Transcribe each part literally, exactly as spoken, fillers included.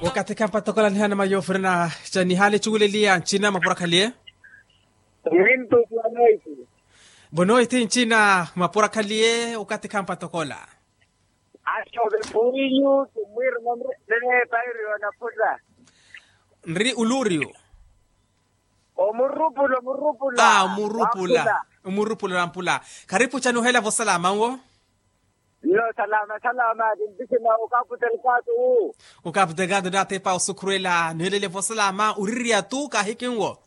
Wakathi khampa tokola nihana mayoofurana. Ca nihaali cuweleliya ncina mapura khaliye. Mintu bonoiti. Bonoiti ncina mapura khaliye wakathi khampa tokola. Axove puwinyu tumwirimo nre nre pairiyo na phuta. Nri uluriyo. Omurupula omurupula. Omurupula. Omurupula na mpula. Kharipu cani ohela vosalama nwo. Nno salama salama. Kintikina okapu delgado. Okapu delgado natepa osukhurwela nihelele vosalama oririya tu kahikinwo.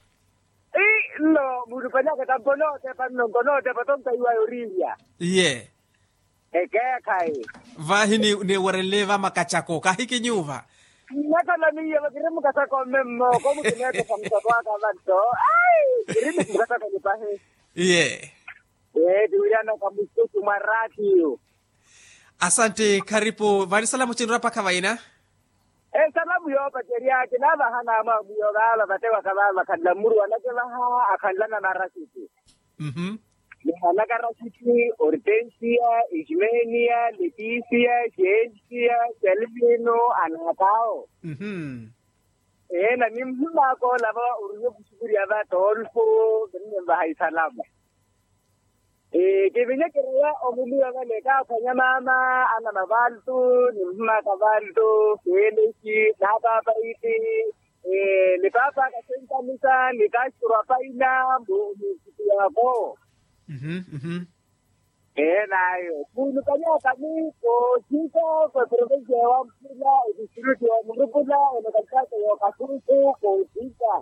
Nno mulupanyaka tampo notepa nno nkonotepa tontaiwa yorirya. Iye. Ekeekhayi. Vahi niwerenle vamakachako kahikinyuva. Nnakhala miyo vakiri mukachako mmemmo komukineetesa mukachako aka vanto. Ai kiri mukachako nipahi. Iye. Ee tiwiryanaka mususu mwa ratio. Asanti kharipu vani salamu cinrwa pakha vaina. Esalamu yoopacerya kinaavahana amwamwiyo vaava vatewaka vaava vakhanla mmuru anake vaha akhanla na marasiti. Nihanaka rasiti hortensia ismenia letisia siensia selvino anakao. Ee na nimhumaka olava oriwe kusukurya va tolfo. Kinnimvaha isalamu. Kivinyekereya omuliwa vale kaaphwanya maama ana mavaltu nimhumaka valtu felesi napapaiti. Ni paapaka sentamisa ni kastro apaina mbo ni nsiku yako. Ee nayo kuulukanyaka ni koothika kweprovensia ya wamphula etistritu ya murupula ene kalikato ya okasunku koothika.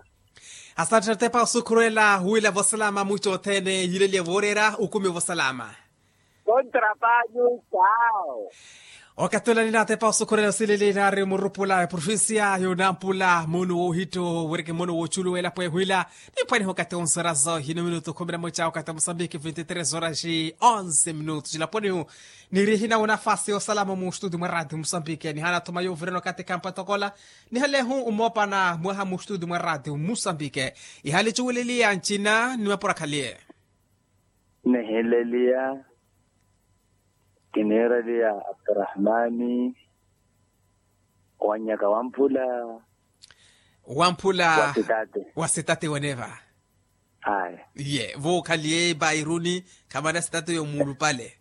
Asanthi natepa osukhurwela huwila vosalama mwico othene yileliye vooreera ukumi vosalama. Kontra panyu tao. Okatulani natepa osukhurwela osileli naari murupula eprovincia yonampula munu woohitto wiriki munu wooculuwela pweehwila. Niphwaniha okati onsarazo hino minutu khumi na mwica okati omusambiki vinti tres horas onse minutu cilaponihu. Nirihi nawo nafasi yosalama mustudi mwa radio musambiki nihana thuma yovirana okati khampa tokola. Nihalehu umopana mwaha mustudi mwa radio musambike. Ihali cuweleliya ncina ni mapura khaliye. Nihileliya kiniireliya abdurahmani wannyaka wamphula. Wamphula wa sitate weneva. Ayi. Iye vookhaliye bairuni khamana sitate yomuulupale.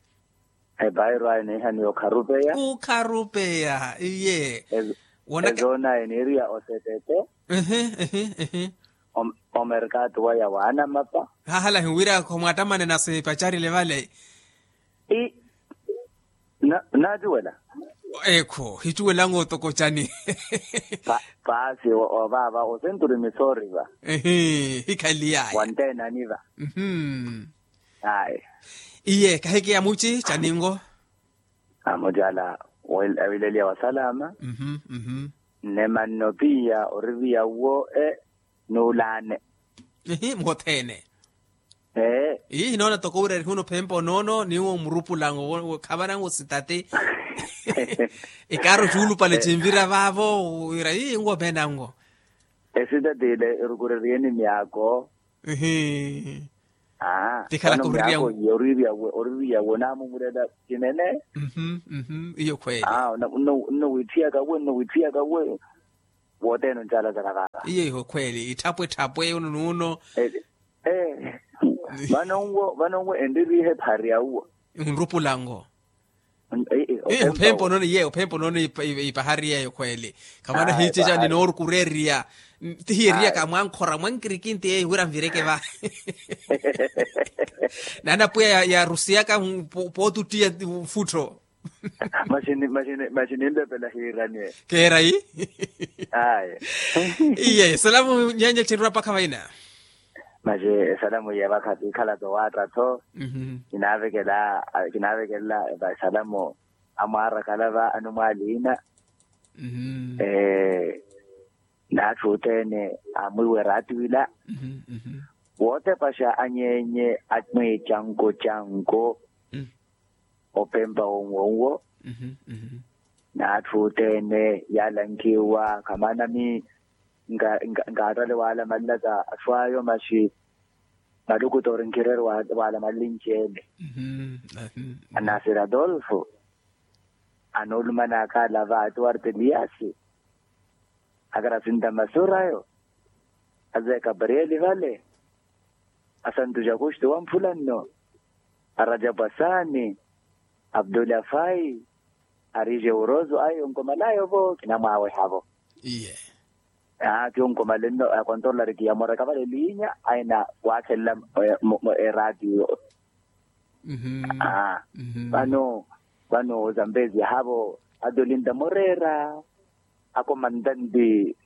Ebairu ayi niihaniya okharupeya. Okharupeya iye. Wonaka ezoonaye niiriya osetete. Ehe ehe ehe. Omerkatu waya waanamapa. Hahalahi wira khomwattamanena sipacarile vale. Naacuwela. Ekho hicuwelanga otoko cani. Paasi ovaava osenturi misooriva. Ehe hikhaliyaya. Wanteenaniva. Ayi. Iye kahikiya muci caningo. Amucala awileliya wasalama. Nne manno piya oririya uwo e nuulaane. Ihi muhothene. Ee. Ihi hinoona toko wira erihuna ophempa onoono niwo murupulango khavanango sitati. Ikaaro cuulupale cinvira vaavo wira ii nwo veenango. Esitati ile erukureriyeni myaako. Ihi. Tikhalaka oririya. Oririya we naamumurela cinene. Iyo khweeli. Nno witthiyaka we nno witthiyaka we. Wothene oncaala zaka vaava iyo iho khweeli itthapwe etthapwe uno n'uno. Vano nwo vano nwo enririihe ephari ya uwo. Nrupulango. Ophempa onono iye ophempa onono ipahari yeeyo khweeli. Khamana hiiceca ninoorukureeriya. Ti hiyeeriyaka mwankhora mwankirikinti yeeyo wira nvireke va. Naana pwiya yarusiyaka pootuttiya futtho. Maxi ninlepela hiiraniye. Keerayi. Aye. Iye salamu nyanya cinrwa pakha vaina. Maxi esalamu yeevakha tiikhala towaatta-tho. Kinaavekelela vasalamu amwaara kalava anumwaaliina. N'atthu othene amwiiwe raatiwila. Wootepaxa anyeenye amwiicanko canko. Opempa wonwonwo. N'atthu othene yaalankhiwa khamana mi nkaattale waalamalelaka atthu ayo maxi malukutoori nkhireru waalamalele nci ele. Anasir adolfo anoolumanaka alava atuwarta eliasi. Akarasinta masurayo, aze kabriyeli vale, asantu jakustu wamphula nno, arajapu asaani, abduli afai, arije urozo ayo nkomalayo vo kinamwaweha vo. Iye. Aa kiwo nkomale nno akontorolari kiyamoraka vale liinya aina waakhelela. Eratiyo. Vano vano ozambezi ahavo, atolinta moreera, akomantanti.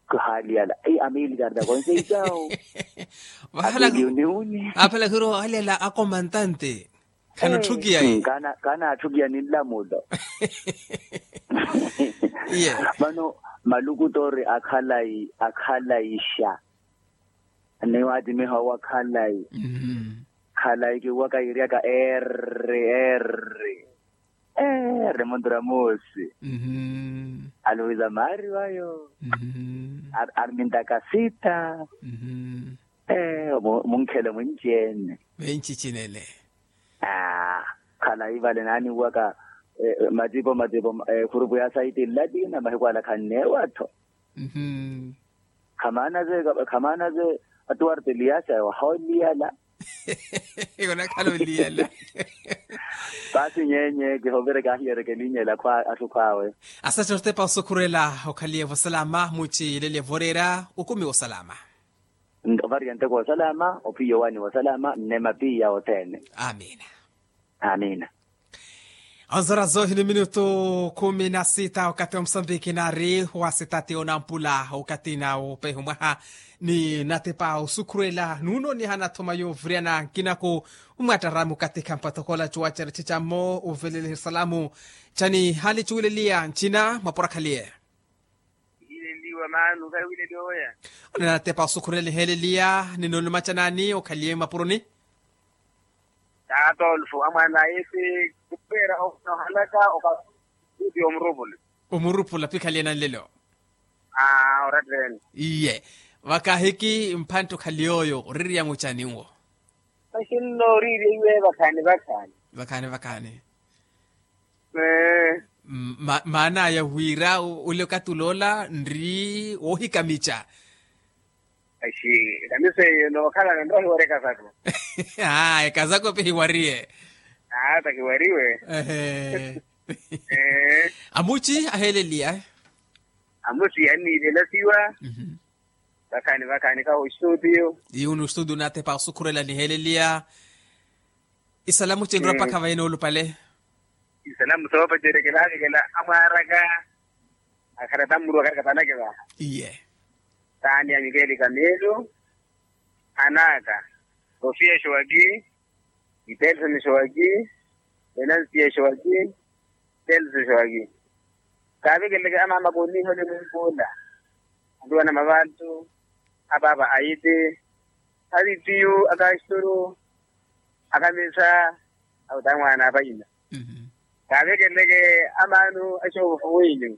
Kuhaaliyala, amilikarta konseitau. Vahala. Apeliuniuni. Aphela khiro ohalyala akomantante. Khanotthukiya. Kaana atthukiya ni nlamulo. Iye. Vano maluku toori akhalayi akhalayisha. Ni waatimiha owa khalayi. Khalayi kiwaka yiryaka erri erri. Ee, ari muntura moosi. Aluwiza maari wayo. Ari mintakasita. Ee, munkhelo mwinci-ene. Mwinci cinene. Aa, khalayi vale naaniwaka matipo matipo, khurupu ya saiti nlati na mahiku ala khanneewa-tho. Khamaana ze khamaana ze atuwarteliyaxa wahooliyala. Khonakhala oliyala. Paasi nyeenye kihovireke ahiyeereke elinyela khwa atthu khwaawe. Asathi otepa osukhurela okhaliye vosalama muci ilelye voreera. Okumi wosalama. Ovariya nteko wosalama ophiya owaani wosalama nnema piya othene. Amina. Amina. Onzora zoohi ni minutu khumi na sita okathi wa musambiki naari wa sitati onampula okathi na opehi mwaha. Ni natepa osukhurela nuuno nihana thoma yooviriyana nkinaku. Mmwattarami okathi khampathokhola cuwacera cicammo ovelele salamu. Cani hali cuwileliya ncina mwaporakhaliye. Ihilenliwa maanu khawilenliwa weya. Onena natepa osukhurela niheeleliya ni noolumaca naani okhaliye mapuroni. Taatolfo amwaana aye ti kupeera ohalaka okakuti omurupula. Omurupula pikhaliye nanlelo. Aa oratteni. Iye. Vakahiki mphantte okhaliye oyo oririya mucani nwo. Maxinno oriiriya iwe vakhaani vakhaani. Vakhaani vakhaani. Maana aya wira ole okathi oloola nri woohikamica. Axi ekamiso eyo nookhalana nrohiwari ekasako. Aa ekasako pihiwariye. Aa tahiwariwe. Amuci aheeleliya. Amuci anniilelasiwa. Vakhaani vakhaani kaho ostudio. Iwu ni ostudio naatepa osukhurela niheeleliya. Isalamu cinrwa mpakha vayi noolupale. Isalamu soopacerekela avikela amwaaraka. Akharata mmuru akarikathanake vaha. Iye. Taani ya mikeeli kameelo. Anaka sofia showaki. Itelson showaki. Enansia showaki. Telson showaki. Kaavikeleke amaama kooniihole munkula. Aluwana mavantu. Apaapa ayiti. Avitiyu akasturu. Akamisa. Awo taamwaana apayina. Kaavekeleke amaanu axoovofu wenyu.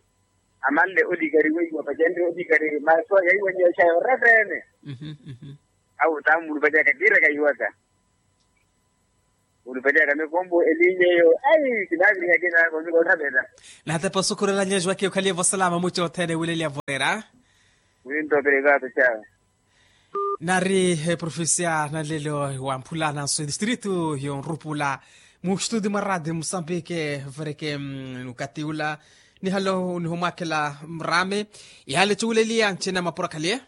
Amanle olikari wenyu apacenrye olikari masu yaiwanyiwa xayo referene. Awo taamulupaliyaka kiiraka iwaka. Mulupaliyaka mekombo elinya eyo. Ai kinaaviriha kinaako mikoothamela. Natepa osukhurela nyeeji wake okhaliye vosalama muci othene wileliya voreera. Winto perekato xawe. Nari eprofesia nanlelo wamphula nanso edistritu yonrupula. Mu studio mwa radio musambike vereke. Nukati ula nihalo nihomwakela mrame. Ihale cuwuleliya ncina mapuro akhaliye.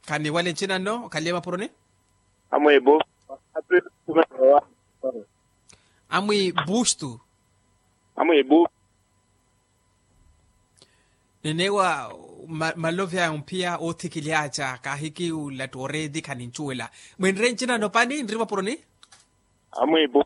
Khaniwale ncina nno okhaliye mapuroni. Amwibu. Amwibustu. Amwibu. Nenewa malovi aya omphiya oothikilyaca kaahiki ulattu oreeti khanincuwela. Mwinre ncina nno pani nri mapuroni. Amwibu.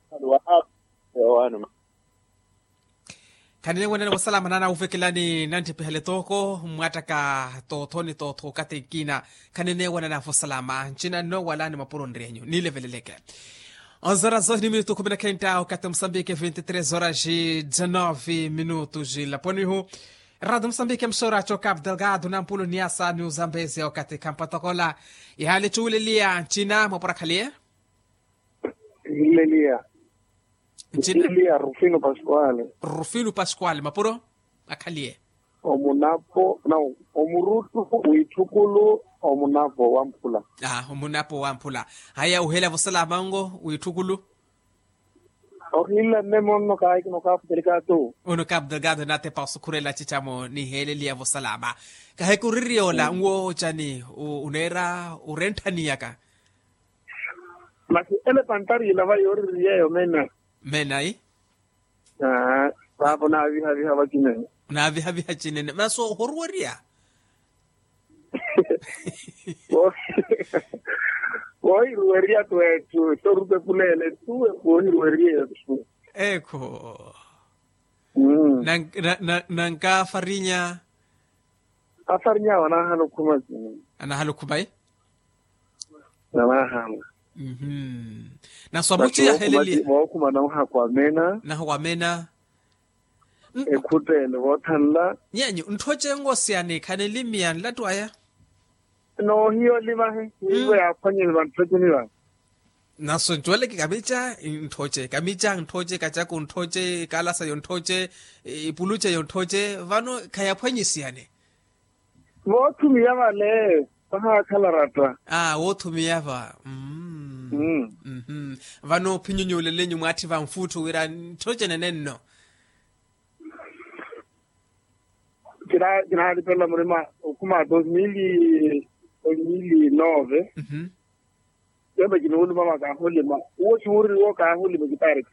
Khanine wanana vosalama nana wuvekelani nantthipihale tooko mmwattaka tootho ni tootho okathi nkina. Khanine wanana vosalama ncina nno wala ni mapuro nryenyu niileveleleke. Onzora zohi ni minutu khumi na khenta okathi musambike vinti tres horas dizanove minutu jilaponihu. Rado musambike msora cho cap delgado na mpulo ni asa ni uzambezi okathi khampatokola. Ihale chuwileliya ncina mwaporakhaliye. Hileliya. Ncina? Isilia rufino pascuale. Rufino pascuale mapuro akhaliye. Omunapo nao omurutu witthukulu. Omunapo wamphula. Omunapo wamphula. Haya uhela vosalama ongo witthukulu. Ohinla nnemo nno kaahikina okaputelika tu. Ono kaputelika tu natepa osukhurela cichamo niheleliya vosalama. Kahikuririya ola nwo ocani uneera orenthaniyaka. Masi ele pantari ilava yooririyeyo mena. Mena i. Aa. Vaapo naavihaviha vacinene. Naavihaviha cinene masi ohoruweriya. Koohiruweriya tu etthu sorupepuleele tu. Koohiruweriya etthu. Ekho. Nankafarinya. Afarinya wanahala okhuma. Anahala okhuma i. Nanahala. Naso amuci yaheleliya. Vookhuma nauha kwamena. Naho wamena. Ekhuttene voothanla. Nyenyu ntthoce ngosiyani khanilimiya nlattu aya. Noohiya olimahe niivo yaaphwanyeni vantthoce niva. Naso ncuweleke kamica ntthoce kamica ntthoce kacaku ntthoce kaalasayo ntthoce ipuluceyo ntthoce vano khayaphwanyisiyane. Voothumiya vale vahaakhala ratta. Aa woothumiya va. Vano ophinyunyuulelenyu mwaatthi vanfuutthu wira ntthoce nenenno. Kinaalipelela murima okhuma dos mil dos mil nove. Tembe kiniwuluma makaahulima uwo kiwuririwa okaahulima ekitaari.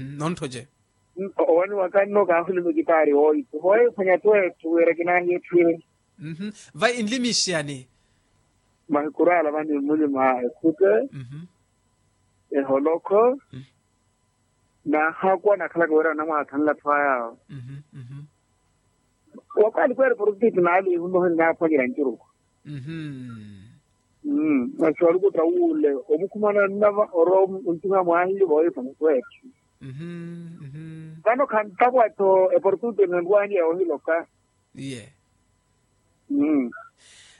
Nonthoce. Owani waka nno okaahulima ekitaari wooyipa wooyiphwanya twetthu wira kinaahiya etthu ire. Vai nlimixiyani. Mahikuru ala vani mmulima ekhute eholokho. Naahakuwa nakhalaka wira anamwaathanla atthu ayaawo. Wakwaali kweeri porofiti naaliihunuheni naaphwanyerya ncuruku. Masi walukutta wuule omukhumana nnava orowa ontuha mwaahiyo voohipa mutweetthu. Vano khantapwa-tho eporofiti enenrwaniya yoohiloka. Iye.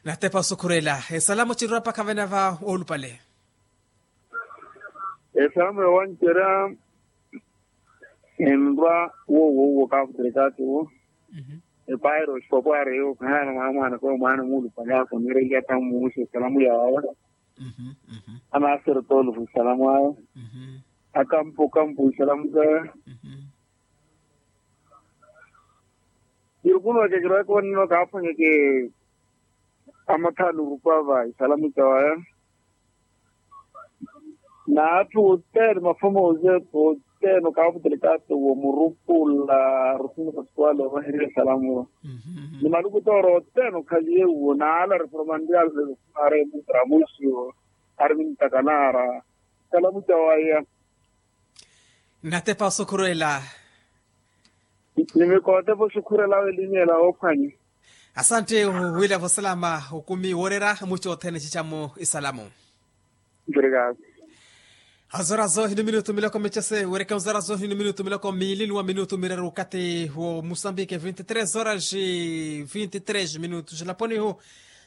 Natepa osukhurela esalamu cinrwa mpakha vena va oolupale. Esalamu yoowancerya enrwa wowowuwo kaavuterekaakiwo. Epairo xipopo ari eyo khayaana mwaamwaana koyo mwaana muulupale ako niireliya tamu muuxa esalamu yaawe. Anaasero toolufu esalamu awe. Akampu kampu esalamu sawe. Kirukunuweke kiroyeke onino kaaphwanyeke amathaani orupwa va isalamu ca waya. N'atthu othene mafoma ozeepha othene okaaputele kaattowa omurupula. Rufino pascuale ovaherya esalamu. Ni maluku tooro othene okhaliye uwo n'ala reformanrial. Mare mutramusi ari mintakanaara. Esalamu ca waya. Nnatepa osukhurela. Nimikootepa osukhurela awe elinyela oophwanya. Asante wila vosalama okumi woorera muci othene cicamu isalamu. Obrigado. Azorazo hino minutu miloko michese wereke ozorazo hino minutu miloko miili ni wa minutu mireru okati wo musambike vinti tres horas vinti tres minutu xilaponihu.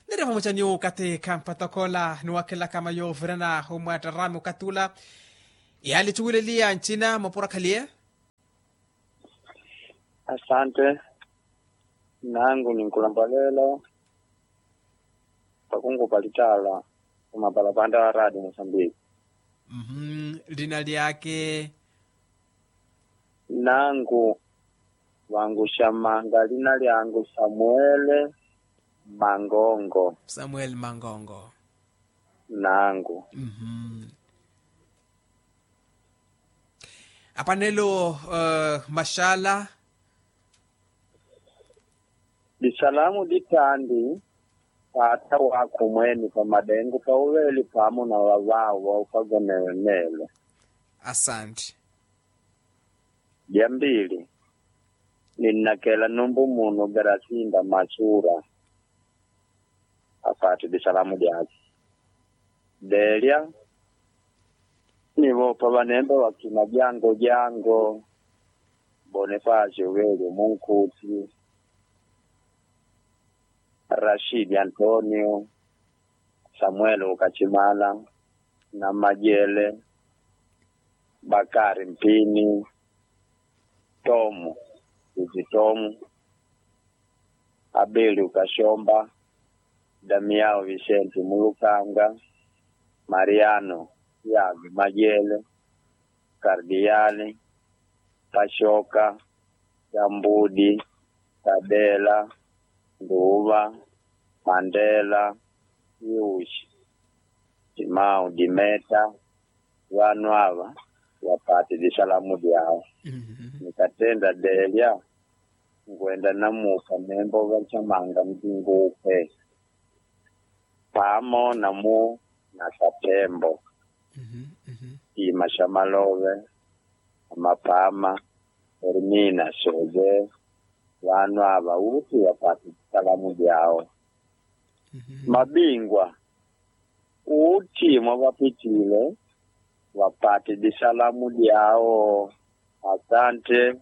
Niri vamuchaniwo okati khampatokhola niwakhelaka mayo ovirana omwatta rami okati ula. Yaali cuwileliya ncina mapuro akhaliye. Asante. Nangu ninkulampaleela. Pakunku palittaala omapalapanda wa radio mosambiki. Lina lyake. Nangu vangu xamanga lina lyangu samuele. Mangongo. Samuele mangongo. Nangu. Apanelo maxala. Lisalamu litaandi. Paata waakhu mweeni pamadengu pauveeli paamuna vavaawo vaupavenewe meelo. Asanti. Lya mbiili. Ninnakela numpu munu berasinda masuura. Afaati lisalamu lyaakhi. Deelya. Ni voopa vanemba vakina jango jango. Bonifasio veelyo munkhuutti. Rashidi antonio. Samueli okachimala. Namajele. Bakari Mpini, Tomu, Titi Tomu, Abeliu Kaxompa, Damiyau Vixenti Mulukanga, Mariyano Tiago Majele, Kardiyali, Paxoka, Xambudi, Xabela, Nduva, Mandela, Yuxi, Timau Dimeta, vano ava vapatili salamu dyawo. Nikattenda delya nkwenda namuuka membo vacamanga nkinguukhwe paamo namu na sathembo. Tiima xa malove amapaama, ermina soze, vano ava wuuthi vapatili salamu dyawo. Mabingwa, uthi mwa vapittiile vapatili salamu dyawo. Asante.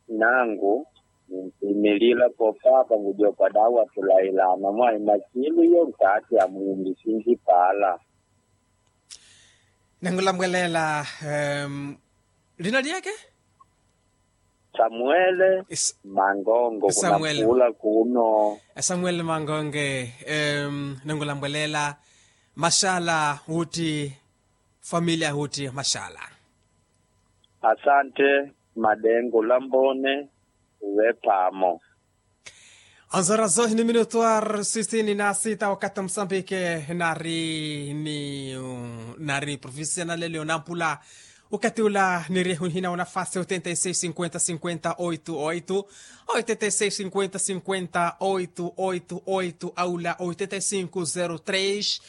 Nangu nintimilila ko papa ngudyopa dawa tulailana mwayi makilu yo nkaathi amuumbi sinji paala. Nangulambwelela. Lina lyeke? Samuele. Mangongo kunapuula kuno. Samuele mangonge. Nangulambwelela. Maxala wutti, familia wutti maxala. Asante. Madengo lambone. Uwe paamo. Anzora zohi ni minutu ar sisini na sita wakati msambike nari ni nari profesional leo nampula. Wakati ula niri hunhina unafasi oitenta e seis cinquenta cinquenta oito oito, oitenta e seis cinquenta cinquenta oito oito oito aula oitenta e cinco zero tres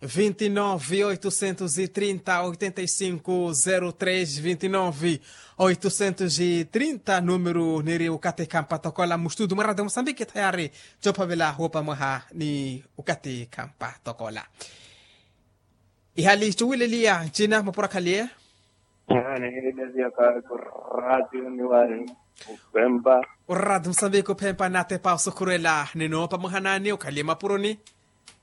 vinte e nove oitocentos e trinta oitenta e cinco zero tres vinte e nove oitocentos e trinta numeru niri ukati khampa tokola mustutu mwarata musambiki thayari. Cophavela wopa mwaha ni ukati khampa tokola. Ihali cuwileliya ncina mapura khaliye. Nihileziya kaku ratio ni wari uphempa. Urati musambiki uphempa natepa osukhurela nino pamuhanani ukhaliye mapuroni.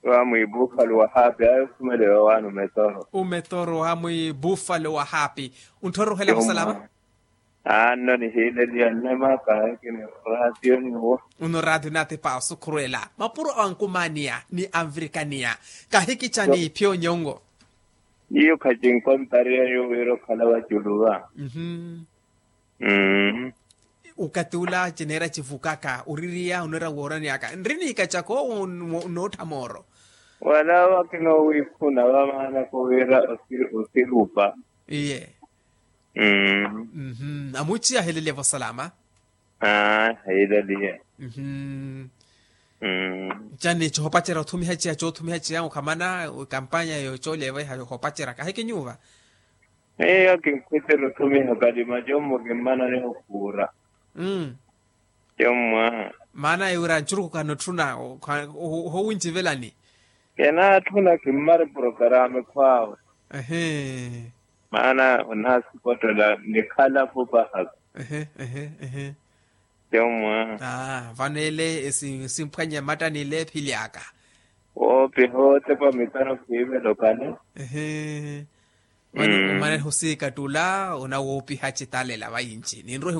Wa mwi buffalo wa hapi ayo khumelewa wani umetoro. Umetoro wa mwi buffalo wa hapi. Untthoro uhela musalama. Anno nihiileliya nnema kahiki ni ratio niwo. Uno ratio natepa osukhurela mapuro ankumaniya ni anvirikaniya. Kahiki cani phyo nyongo. Iyo khacinkontariya yo wira okhala waculuva. Ukati ula cineera civukaka oririya onera wooraniyaka nri niikacaka owo. Nootha mooro. Wala wakina owiiphuna vamaana ko wira osirupa. Iye. Amuciya ahelelya vosalama. Aheleliya. Cani cohopacerya othumiha ciya coothumiha ciya okhamana ekampanya yo cooleva iha yohopacerya kahiki nyuva. Eyo kinkhwitira othumiha kalima commo kimmanani okhuura. Commo. Maana ewira ncuruku kanotthuna. Ohowincivelani. Kenaatthuna kimmari porokarame khwaawe. Maana onaasipottela nikhalapo pahaka. Commo. Vano ele esimphwanya matta nile ephili aka. Woopiha otepa mitano khiivela okale. Mane husiika ttula onawoopiha citalela vainci ninrohi.